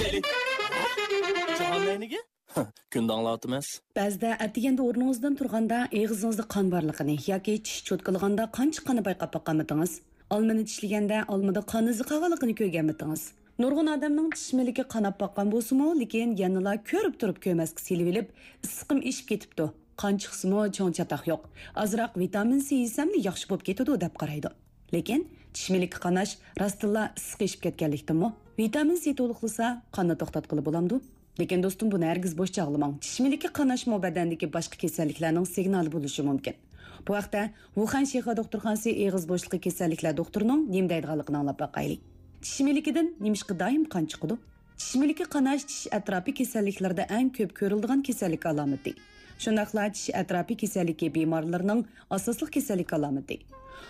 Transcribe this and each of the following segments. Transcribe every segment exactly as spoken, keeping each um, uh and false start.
جاھان نەينىگە؟ كۈندە ئاڭلاۋاتىمىز. بەزىدە ئەتىگەندە ئورنىڭىزدىن تۇرغاندا ئېغىزىڭىزدا قان بارلىقىنى ياكى چىش چوتكىلىغاندا قان چىققاننى بايقاپ باققانمىدىڭىز؟ ئالمىنى چىشلىگەندە ئالمىدا قان ئىزى قالغانلىقىنى كۆرگەنمىدىڭىز؟ نۇرغۇن ئادەمنىڭ چىش مىلىكى قاناپ باققان بولسىمۇ، لېكىن يەنىلا كۆرۈپ تۇرۇپ كۆرمەسكە سېلىۋېلىپ، ئىسسىقىم ئېشىپ كېتىپتۇ، قان چىقسىمۇ چوڭ چاتاق يوق، ئازراق ۋىتامىن سى يېسەملا ياخشى بولۇپ كېتىدۇ دەپ قارايدۇ. لېكىن چىش مىلىكى قاناش راستتىنلا ئىسسىق ئېشىپ كەتكەنلىكتىنمۇ؟ ۋىتامىن سى تولۇقلىسا، قاننى توختاتقىلى بولامدۇ؟ لېكىن دوستۇم، بۇنى ھەرگىز بوش چاغلىماڭ. چىش مىلىكى قاناشمۇ بەدەندىكى باشقا كېسەللىكلەرنىڭ سىگنالى بولۇشى مۇمكىن. بۇ ھەقتە ۋۇخەن شىخې دوختۇرخانىسى ئېغىز بوشلۇقى كېسەللىكلەر دوختۇرىنىڭ نېمە دەيدىغانلىقىنى ئاڭلاپ باقايلى. چىش مىلىكىدىن نېمىشقا دائىم قان چىقىدۇ؟ چىش مىلىكى قاناش چىش ئەتراپى كېسەللىكلىرىدە ئەڭ كۆپ كۆرۈلىدىغان كېسەللىك ئالامىتى. شۇنداقلا چىش ئەتراپى كېسەللىكى بىمارلىرىنىڭ ئاساسلىق كېسەللىك ئالامىتى.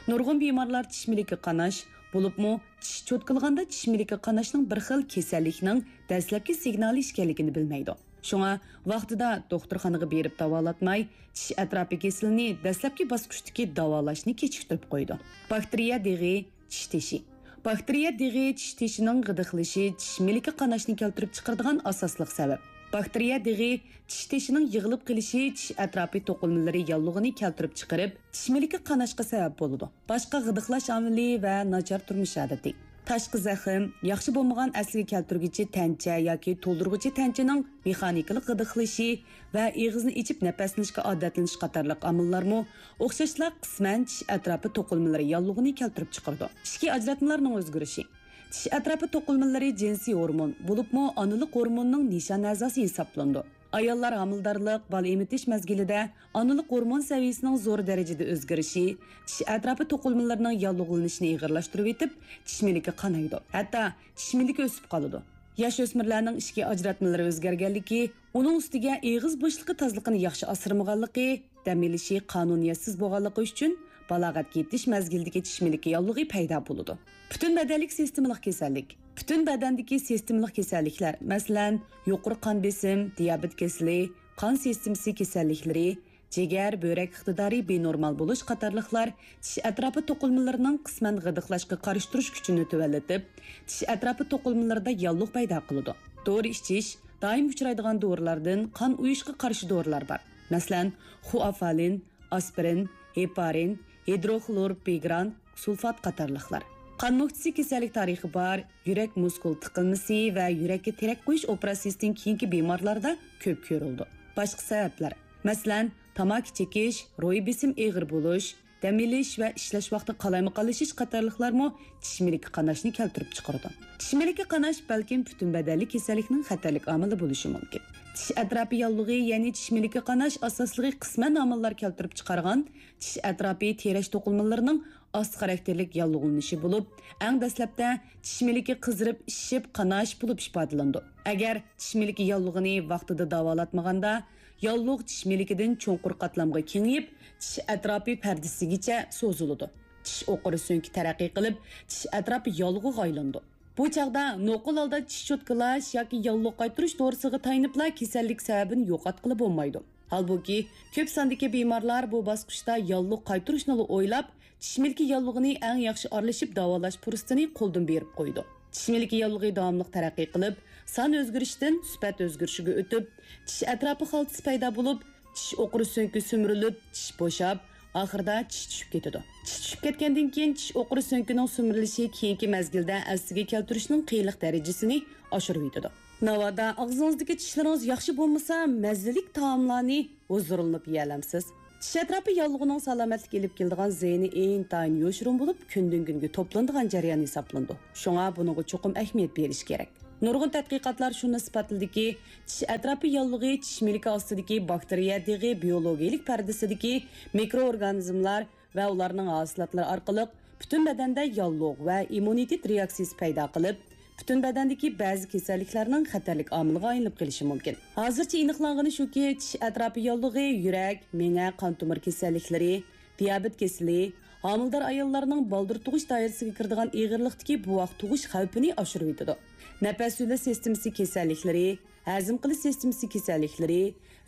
نۇرغۇن بىمارلار چىش مىلىكى قاناش، بولۇپمۇ چىش چوتكىلىغاندا چىش مىلىكى قاناشنىڭ بىر خىل كېسەللىكنىڭ دەسلەپكى سىگنالى ئىكەنلىكىنى بىلمەيدۇ. شۇڭا ۋاقتىدا دوختۇرخانىغا بېرىپ داۋالاتماي، چىش ئەتراپى كېسىلىنى دەسلەپكى باسقۇچتىكى داۋالاشنى كېچىكتۈرۈپ قويىدۇ. باكتېرىيە دېغى، چىش تېشى. باكتېرىيە دېغى چىش تېشىنىڭ غىدىقلىشى چىش مىلىكى قاناشنى كەلتۈرۈپ چىقىرىدىغان ئاساسلىق سەۋەب. باكتېرىيە دېغى چىش تېشىنىڭ يىغىلىپ قېلىشى چىش ئەتراپى توقۇلمىلىرى ياللۇغىنى كەلتۈرۈپ چىقىرىپ، چىش مىلىكى قاناشقا سەۋەب بولىدۇ. باشقا غىدىقلاش ئامىلى ۋە ناچار تۇرمۇش ئادىتى. تاشقى زەخىم، ياخشى بولمىغان ئەسلىگە كەلتۈرگۈچى تەنچە ياكى تولدۇرغۇچى تەنچىنىڭ مېخانىكىلىق غىدىقلىشى ۋە ئېغىزنى ئېچىپ نەپەسلىنىشكە ئادەتلىنىش قاتارلىق ئامىللارمۇ ئوخشاشلا قىسمەن چىش ئەتراپى توقۇلمىلىرى ياللۇغىنى كەلتۈرۈپ چىقىرىدۇ. ئىچكى ئاجراتمىلارنىڭ ئۆزگىرىشى. چىش ئەتراپى توقۇلمىلىرى جىنسىي ھورمون، بولۇپمۇ ئانىلىق ھورموننىڭ نىشان ئەزاسى ھېسابلىنىدۇ. ئاياللار ھامىلىدارلىق، بالا ئېمىتىش مەزگىلىدە ئانىلىق ھورمون سەۋىيەسىنىڭ زور دەرىجىدە ئۆزگىرىشى چىش ئەتراپى توقۇلمىلىرىنىڭ ياللۇغلىنىشىنى ئېغىرلاشتۇرۇۋېتىپ، چىش مىلىكى قانايدۇ، ھەتتا چىش مىلىكى ئۆسۈپ قالىدۇ. ياش ئۆسمۈرلەرنىڭ ئىچكى ئاجراتمىلىرى ئۆزگەرگەنلىكى، ئۇنىڭ ئۈستىگە ئېغىز بوشلۇقى تازىلىقىنى ياخشى ئاسرىمىغانلىقى، دەم ئېلىشى قانۇنىيەتسىز بولغانلىقى ئۈچۈن، بالاغەتكە يېتىش مەزگىلىدىكى چىش مىلىكى ياللۇغى پەيدا بولىدۇ. پۈتۈن بەدەنلىك سىستېمىلىق كېسەللىك. پۈتۈن بەدەندىكى سىستېمىلىق كېسەللىكلەر، مەسىلەن، يۇقىرى قان بېسىم، دىيابېت كېسىلى، قان سىستېمىسى كېسەللىكلىرى، جىگەر، بۆرەك ئىقتىدارى بىنورمال بولۇش قاتارلىقلار چىش ئەتراپى توقۇلمىلىرىنىڭ قىسمەن غىدىقلاشقا قارشى تۇرۇش كۈچىنى تۆۋەنلىتىپ، چىش ئەتراپى توقۇلمىلىرىدا ياللۇغ پەيدا قىلىدۇ. دورا ئىچىش. دائىم ئۇچرايدىغان دورىلاردىن قان ئۇيۇشقا قارشى دورىلار بار. مەسىلەن، خۇئافالىن، ئاسپىرىن، ھېپارىن، ھىدروخلورپىگران سۇلفات قاتارلىقلار. قان نۆكچىسى كېسەللىك تارىخى بار، يۈرەك مۇسكۇل تىقىلمىسى ۋە يۈرەككە تىرەك قويۇش ئوپېراتسىيىسىدىن كېيىنكى بىمارلاردا كۆپ كۆرۈلىدۇ. باشقا سەۋەبلەر، مەسىلەن، تاماكا چېكىش، روھىي بېسىم ئېغىر بولۇش، دەم ئېلىش ۋە ئىشلەش ۋاقتى قالايمىقانلىشىش قاتارلىقلارمۇ چىش مىلىكى قاناشنى كەلتۈرۈپ چىقىرىدۇ. چىش مىلىكى قاناش بەلكىم پۈتۈن بەدەنلىك كېسەللىكنىڭ خەتەرلىك ئامىلى بولۇشى مۇمكىن. چىش ئەتراپى ياللۇغى، يەنى چىش مىلىكى قاناش ئاساسلىقى قىسمەن ئامىللار كەلتۈرۈپ چىقارغان چىش ئەتراپى تىرەش توقۇلمىلىرىنىڭ ئاستا خاراكتېرلىك ياللۇغلىنىشى بولۇپ، ئەڭ دەسلەپتە چىش مىلىكى قىزىرىپ، ئىششىپ، قاناش بولۇپ ئىپادىلىنىدۇ. ئەگەر چىش مىلىكى ياللۇغىنى ۋاقتىدا داۋالاتمىغاندا، ياللۇغ چىش مىلىكىدىن چوڭقۇر قاتلامغا كېڭىيىپ، چىش ئەتراپى پەردىسىگىچە سوزۇلىدۇ. چىش ئوقۇرى سۆڭىكى تەرەققىي قىلىپ، چىش ئەتراپى ياللۇغىغا ئايلىنىدۇ. بۇ چاغدا نوقۇل ھالدا چىش چوتكىلاش ياكى ياللۇغ قايتۇرۇش دورىسىغا تايىنىپلا كېسەللىك سەۋەبىنى يوقاتقىلى بولمايدۇ. ھالبۇكى، كۆپ ساندىكى بىمارلار بۇ باسقۇچتا ياللۇغ قايتۇرۇشنىلا ئويلاپ، چىش مىلىكى ياللۇغىنى ئەڭ ياخشى ئارىلىشىپ داۋالاش پۇرسىتىنى قولدىن بېرىپ قويىدۇ. چىش مىلىكى ياللۇغى داۋاملىق تەرەققىي قىلىپ، سان ئۆزگىرىشىدىن سۈپەت ئۆزگىرىشىگە ئۆتۈپ، چىش ئەتراپى خالتىسى پەيدا بولۇپ، چىش ئوقۇرى سۆڭىكى سۈمۈرۈلۈپ، چىش بوشاپ، ئاخىرىدا چىش چۈشۈپ كېتىدۇ. چىش چۈشۈپ كەتكەندىن كېيىن، چىش ئوقۇرى سۆڭىكىنىڭ سۈمۈرۈلۈشى كېيىنكى مەزگىلدە ئەسلىگە كەلتۈرۈشنىڭ قىيىنلىق دەرىجىسىنى ئاشۇرۇۋېتىدۇ. ناۋادا ئاغزىڭىزدىكى چىشلىرىڭىز ياخشى بولمىسا، مەززىلىك تائاملارنى ھۇزۇرلىنىپ يېيەلەمسىز. چىش ئەتراپى ياللۇغىنىڭ سالامەتلىككە ئېلىپ كېلىدىغان زىيىنى ئىنتايىن يوشۇرۇن بولۇپ، كۈندىن كۈنگە توپلىنىدىغان جەريان ھېسابلىنىدۇ. شۇڭا بۇنىڭغا چوقۇم ئەھمىيەت بېرىش كېرەك. نۇرغۇن تەتقىقاتلار شۇنى ئىسپاتلىدىكى، چىش ئەتراپى ياللۇغى چىش مىلىكى ئاستىدىكى باكتېرىيە دېغى بىيولوگىيەلىك پەردىسىدىكى مىكروئورگانىزملار ۋە ئۇلارنىڭ ھاسىلاتلىرى ئارقىلىق پۈتۈن بەدەندە ياللۇغ ۋە ئىممۇنىتېت رېئاكسىيىسى پەيدا قىلىپ، پۈتۈن بەدەندىكى بەزى كېسەللىكلەرنىڭ خەتەرلىك ئامىلىغا ئايلىنىپ قېلىشى مۇمكىن. ھازىرچە ئېنىقلانغىنى شۇكى، چىش ئەتراپى ياللۇغى يۈرەك، مېڭە، قان تومۇر كېسەللىكلىرى، دىيابېت كېسىلى، ھامىلىدار ئاياللارنىڭ بالدۇر تۇغۇش دائىرىسىگە كىرىدىغان ئېغىرلىقتىكى بوۋاق تۇغۇش خەۋپىنى ئاشۇرۇۋېتىدۇ. نەپەس يولى سىستېمىسى كېسەللىكلىرى، ھەزىم قىلىش سىستېمىسى كېسەللىكلىرى،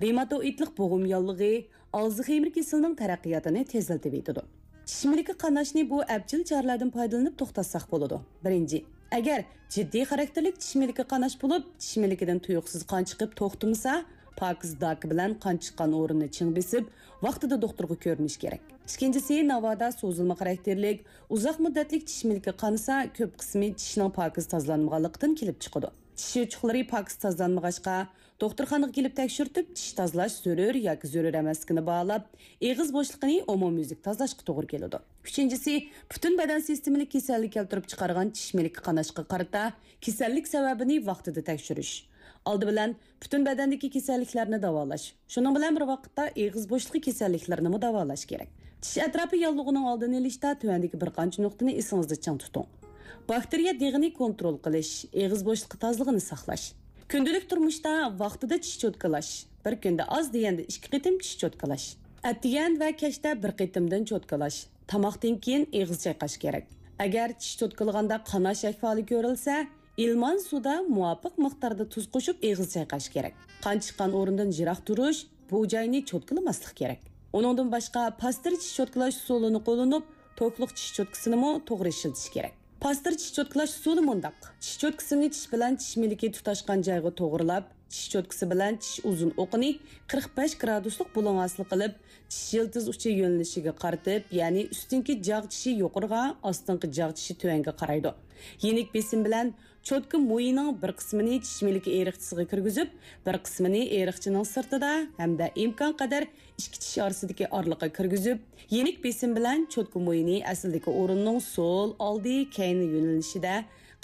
رېماتوئىدلىق بوغۇم ياللۇغى، ئالزخېيمېر كېسىلىنىڭ تەرەققىياتىنى تېزلىتىۋېتىدۇ. چىش مىلىكى قاناشنى بۇ ئەپچىل چارىلەردىن پايدىلىنىپ توختاتساق بولىدۇ. بىرىنچى، ئەگەر جىددىي خاراكتېرلىك چىش مىلىكى قاناش بولۇپ، چىش مىلىكىدىن تۇيۇقسىز قان چىقىپ توختىمىسا، پاكىز داكا بىلەن قان چىققان ئورۇننى چىڭ بېسىپ، ۋاقتىدا دوختۇرغا كۆرۈنۈش كېرەك. ئىككىنچىسى، ناۋادا سوزۇلما خاراكتېرلىك، ئۇزاق مۇددەتلىك چىش مىلىكى قانىسا، كۆپ قىسمى چىشنىڭ پاكىز تازىلانمىغانلىقىدىن كېلىپ چىقىدۇ. چىش يوچۇقلىرى پاكىز تازىلانمىغاچقا، دوختۇرخانىغا كېلىپ تەكشۈرتۈپ، چىش تازىلاش زۆرۈر ياكى زۆرۈر ئەمەسلىكىنى باھالاپ، ئېغىز بوشلۇقىنى ئومۇميۈزلۈك تازىلاشقا توغرا كېلىدۇ. ئۈچىنچىسى، پۈتۈن بەدەن سىستېمىلىك كېسەللىك كەلتۈرۈپ چىقارغان چىش مىلىكى قاناشقا قارىتا كېسەللىك سەۋەبىنى ۋاقتىدا تەكشۈرۈش. ئالدى بىلەن پۈتۈن بەدەندىكى كېسەللىكلەرنى داۋالاش، شۇنىڭ بىلەن بىر ۋاقىتتا ئېغىز بوشلۇقى كېسەللىكلىرىنىمۇ داۋالاش كېرەك. چىش ئەتراپى ياللۇغىنىڭ ئالدىنى ئېلىشتا تۆۋەندىكى بىر قانچە نۇقتىنى ئېسىڭىزدە چىڭ تۇتۇڭ. باكتېرىيە دېغىنى كونترول قىلىش، ئېغىز بوشلۇقى تازىلىقىنى ساقلاش. كۈندىلىك تۇرمۇشتا ۋاقتىدا چىش چوتكىلاش، بىر كۈندە ئاز دېگەندە ئىككى قېتىم چىش چوتكىلاش. ئەتىگەن ۋە كەچتە بىر قېتىمدىن چوتكىلاش. تاماقتىن كېيىن ئېغىز چايقاش كېرەك. ئەگەر چىش چوتكىلىغاندا قاناش ئەھۋالى كۆرۈلسە، ئىلمان سۇدا مۇۋاپىق مىقداردا تۇز قوشۇپ ئېغىز چايقاش كېرەك. قان چىققان ئورۇندىن يىراق تۇرۇش، بۇ جاينى چوتكىلىماسلىق كېرەك. ئۇنىڭدىن باشقا، پاستىر چىش چوتكىلاش ئۇسۇلىنى قوللىنىپ، توكلۇق چىش چوتكىسىنىمۇ توغرا ئىشلىتىش كېرەك. پاستىر چىش چوتكىلاش ئۇسۇلى مۇنداق: چىش چوتكىسىنى چىش بىلەن چىش مىلىكى تۇتاشقان جايغا توغرىلاپ، چىش چوتكىسى بىلەن چىش ئۇزۇن ئوقىنى قىرىق بەش گرادۇسلۇق بۇلۇڭ ھاسىل قىلىپ، چىش يىلتىز ئۇچى يۆنىلىشىگە قارىتىپ، يەنى ئۈستۈنكى جاغ چىشى يۇقىرىغا، ئاستىنقى جاغ چىشى تۆۋەنگە قارايدۇ. يېنىك بېسىم بىلەن چوتكا مويىنىڭ بىر قىسمىنى چىش مىلىكى ئېرىقچىسىغا كىرگۈزۈپ، بىر قىسمىنى ئېرىقچىنىڭ سىرتىدا ھەمدە ئىمكان قەدەر ئىككى چىش ئارىسىدىكى ئارىلىققا كىرگۈزۈپ، يېنىك بېسىم بىلەن چوتكا مويىنى ئەسلىدىكى ئورۇننىڭ سول، ئالدى، كەينى يۆنىلىشىدە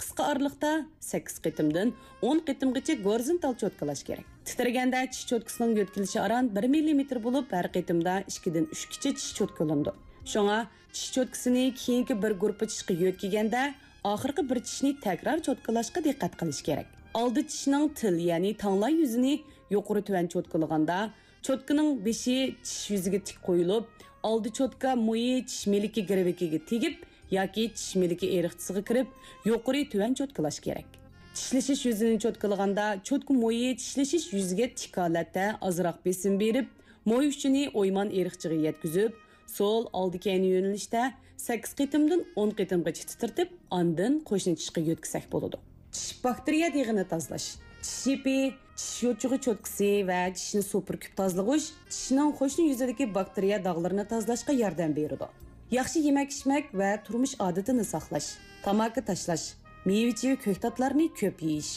قىسقا ئارىلىقتا سەككىز قېتىمدىن ئون قېتىمغىچە گورىزونتال چوتكىلاش كېرەك. تىترىگەندە چىش چوتكىسىنىڭ يۆتكىلىشى ئاران بىر مىللىمېتىر بولۇپ، ھەر قېتىمدا ئىككىدىن ئۈچكىچە چىش چوتكىلىنىدۇ. شۇڭا چىش چوتكىسىنى كېيىنكى بىر گۇرۇپپا چىشقا يۆتكىگەندە، ئاخىرقى بىر چىشنى تەكرار چوتكىلاشقا دىققەت قىلىش كېرەك. ئالدى چىشنىڭ تىل، يەنى تاڭلا يۈزىنى يۇقىرى تۆۋەن چوتكىلىغاندا، چوتكىنىڭ بېشى چىش يۈزىگە تىك قويۇلۇپ، ئالدى چوتكا مويى چىش مىلىكى گىرۋىكىگە تېگىپ ياكى چىش مىلىكى ئېرىقچىسىغا كىرىپ، يۇقىرى تۆۋەن چوتكىلاش كېرەك. چىشلىشىش يۈزىنى چوتكىلىغاندا، چوتكا مويى چىشلىشىش يۈزىگە تىك ھالەتتە ئازراق بېسىم بېرىپ، موي ئۇچىنى ئويمان ئېرىقچىغا يەتكۈزۈپ، سول، ئالدى، كەينى يۆنىلىشتە سەككىز قېتىمدىن ئون قېتىمغىچە تىترىتىپ، ئاندىن قوشنا چىشقا يۆتكىسەك بولىدۇ. چىش باكتېرىيە دېغىنى تازىلاش. چىش يىپى، چىش يوچۇقى چوتكىسى ۋە چىشنى سۇپۇرۇپ كۆپ تازىلىغۇچ چىشنىڭ قوشنا يۈزىدىكى باكتېرىيە داغلىرىنى تازىلاشقا ياردەم بېرىدۇ. ياخشى يېمەك-ئىچمەك ۋە تۇرمۇش ئادىتىنى ساقلاش. تاماكا تاشلاش، مېۋە-چېۋە، كۆكتاتلارنى كۆپ يېيىش،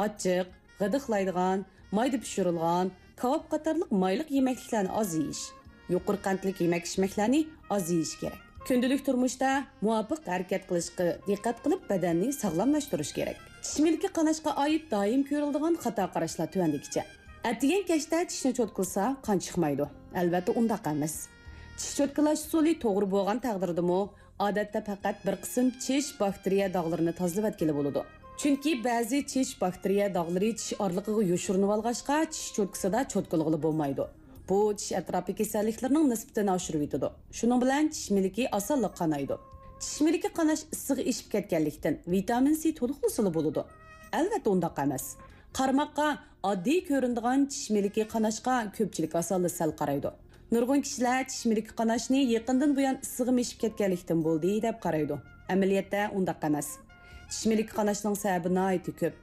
ئاچچىق، غىدىقلايدىغان، مايدا پىشۇرۇلغان، كاۋاپ قاتارلىق مايلىق يېمەكلىكلەرنى ئاز يېيىش، يۇقىرى قەنتلىك يېمەك-ئىچمەكلەرنى ئاز يېيىش كېرەك. كۈندىلىك تۇرمۇشتا مۇۋاپىق ھەرىكەت قىلىشقا دىققەت قىلىپ، بەدەننى ساغلاملاشتۇرۇش كېرەك. چىش مىلىكى قاناشقا ئائىت دائىم كۆرۈلىدىغان خاتا قاراشلار تۆۋەندىكىچە. ئەتىگەن كەچتە چىشنى چوتكىلىسا قان چىقمايدۇ. ئەلۋەتتە ئۇنداق ئەمەس. چىش چوتكىلاش ئۇسۇلى توغرا بولغان تەقدىردىمۇ، ئادەتتە پەقەت بىر قىسىم چىش باكتېرىيە داغلىرىنى تازىلىۋەتكىلى بولىدۇ. چۈنكى بەزى چىش باكتېرىيە داغلىرى چىش ئارىلىقىغا يوشۇرۇنۇۋالغاچقا، چىش چوتكىسىدا چوتكىلىغىلى بولمايدۇ. بۇ چىش ئەتراپى كېسەللىكلىرىنىڭ نىسبىتىنى ئاشۇرۇۋېتىدۇ. شۇنىڭ بىلەن چىش مىلىكى ئاسانلا قانايدۇ. چىش مىلىكى قاناش ئىسسىغا ئېشىپ كەتكەنلىكتىن، ۋىتامىن سى تولۇقلىسىلا بولىدۇ. ئەلۋەتتە ئۇنداق ئەمەس. قارىماققا ئاددىي كۆرۈنىدىغان چىش مىلىكى قاناشقا كۆپچىلىك ئاسانلا سەل قارايدۇ. نۇرغۇن كىشىلەر چىش مىلىكى قاناشنى يېقىندىن بۇيان ئىسسىغا مېشىپ كەتكەنلىكتىن بولدى دەپ قارايدۇ. ئەمەلىيەتتە ئۇنداق ئەمەس. چىش مىلىكى قاناشنىڭ سەۋەبى ناھايىتى كۆپ.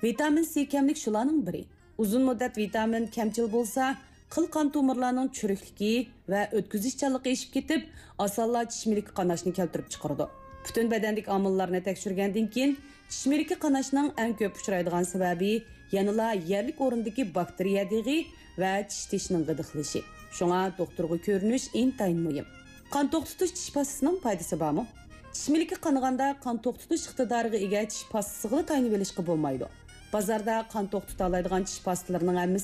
ۋىتامىن سى كەملىك شۇلارنىڭ بىرى. ئۇزۇن مۇددەت ۋىتامىن كەمچىل بولسا، قىل قان تومۇرلارنىڭ چۈرۈكلۈكى ۋە ئۆتكۈزۈشچانلىقى ئېشىپ كېتىپ، ئاسانلا چىش مىلىكى قاناشنى كەلتۈرۈپ چىقىرىدۇ. پۈتۈن بەدەندىكى ئامىللارنى تەكشۈرگەندىن كېيىن، چىش مىلىكى قاناشنىڭ ئەڭ كۆپ ئۇچرايدىغان سەۋەبى يەنىلا يەرلىك ئورۇندىكى باكتېرىيە دېغى ۋە چىش تېشىنىڭ غىدىقلىشى. شۇڭا دوختۇرغا كۆرۈنۈش ئىنتايىن مۇھىم. قان توختىتىش چىش پاستىسىنىڭ پايدىسى بارمۇ؟ چىش مىلىكى قانىغاندا قان توختىتىش ئىقتىدارىغا ئىگە چىش پاستىسىغىلا تايىنىۋېلىشقا بولمايدۇ. بازاردا قان توختىتالايدىغان چىش پاستىلىرىنىڭ ھەممىسى